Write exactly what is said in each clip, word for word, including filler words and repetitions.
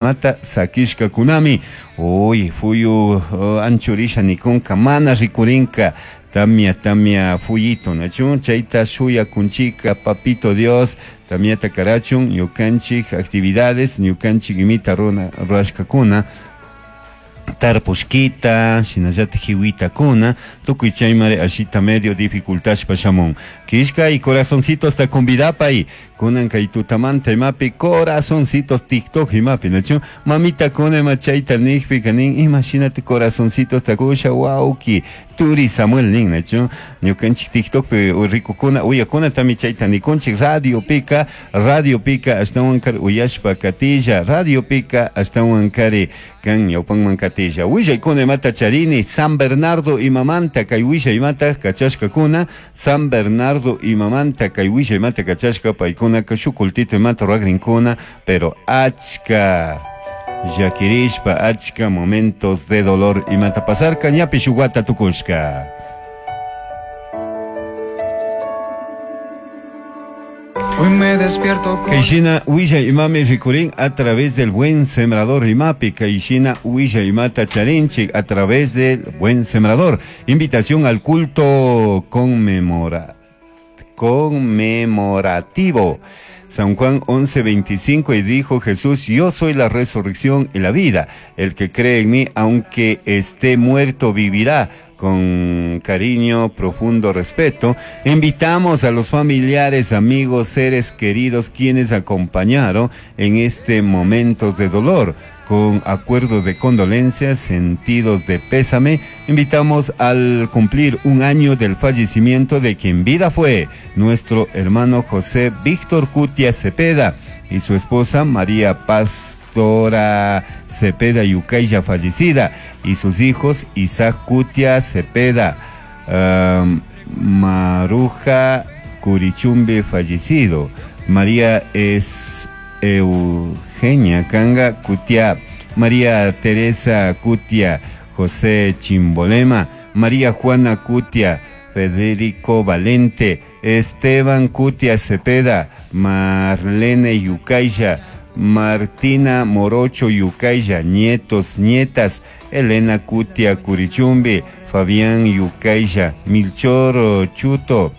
Mata sakishkakunami uy fuyu uh, anchurisha nikunka mana rikurinka tamia tamia fuyito nachun chayta shuyakunchika papito Dios tamiata karachun ñukanchik actividades ñukanchik imita runa rurashkakuna tarpushkita shinallatik hiwitakuna tukuy chaymari ashita medio dificultashpa shamun kishka y corazoncitos ta convidapay kunan kay tutamanta imapi corazoncitos TikTok imapi nachu mamita kuna ima chayta nijpika nin imashinati corazoncitos takusha wawki turi Samuel nin nachu ñukanchik TikTokpi rikukuna uyakuna tami chayta nikunchik radiopika radiopika ashtawankari uyashpa katilla radiopika ashtawankari kan ñawpanman katilla willaykuna imata charini San Bernardo imamanta kay willay imata kachashkakuna San Bernardo imamanta kay willay imata kachashka paykunaka shuk kultito imata rurakrinkuna pero achka llakirishpa achka momentos de dolor imata pasarka ñapish shuk wata tukushka. Hoy me despierto con Kaishina Willa Imami rikurin a través del buen sembrador imapi. Kaishina Willa Imata Charinchik a través del buen sembrador. Invitación al culto conmemora, conmemorativo. San Juan once veinticinco, y dijo Jesús: yo soy la resurrección y la vida. El que cree en mí, aunque esté muerto, vivirá. Con cariño, profundo respeto, invitamos a los familiares, amigos, seres queridos quienes acompañaron en este momento de dolor. Con acuerdo de condolencias, sentidos de pésame, invitamos al cumplir un año del fallecimiento de quien vida fue nuestro hermano José Víctor Cutia Cepeda y su esposa María Pastora Cepeda Yucaya, fallecida, y sus hijos Isaac Cutia Cepeda, um, Maruja Curichumbe, fallecido, María es Eugenia Canga Cutia, María Teresa Cutia, José Chimbolema, María Juana Cutia, Federico Valente, Esteban Cutia Cepeda, Marlene Yucaya, Martina Morocho Yucaya, nietos, nietas, Elena Cutia Curichumbi, Fabián Yucaya, Milchor Chuto,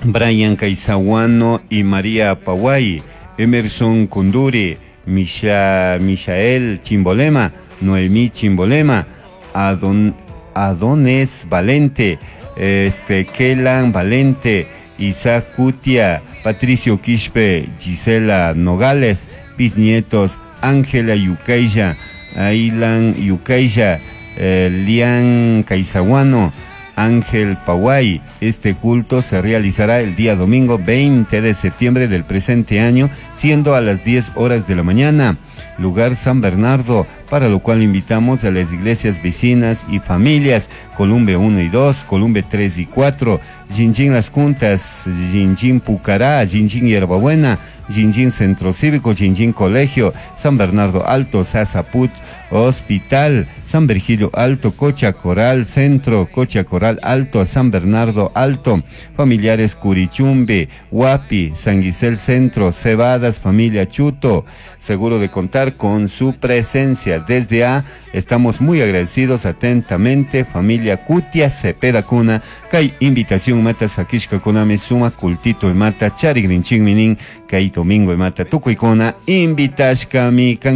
Brian Caizahuano y María Paguay, Emerson Kunduri, Misha, Michael Chimbolema, Noemí Chimbolema, Adon, Adones Valente, este, Kelan Valente, Isaac Cutia, Patricio Quispe, Gisela Nogales, bisnietos, Ángela Yucaya, Ailan Yucaya, eh, Lian Caizahuano, Ángel Paguay. Este culto se realizará el día domingo veinte de septiembre del presente año, siendo a las diez horas de la mañana. Lugar San Bernardo, para lo cual invitamos a las iglesias vecinas y familias, Columbe uno y dos, Columbe tres y cuatro, Jinjin Las Juntas, Jinjin Pucará, Jinjin Hierbabuena, Jinjin Centro Cívico, Jinjin Colegio, San Bernardo Alto, Sasaput Hospital, San Virgilio Alto, Cocha Coral Centro, Cocha Coral Alto, San Bernardo Alto, familiares Curichumbe, Huapi, San Gisel Centro, Cebadas, familia Chuto. Seguro de contar con su presencia. Desde A, estamos muy agradecidos atentamente, familia Cutia Cepeda Cuna, Kai invitación mata sakishka kunami suma kultito mata charigrinching minin, Kai domingo mata tukuykuna, invitashkami kan.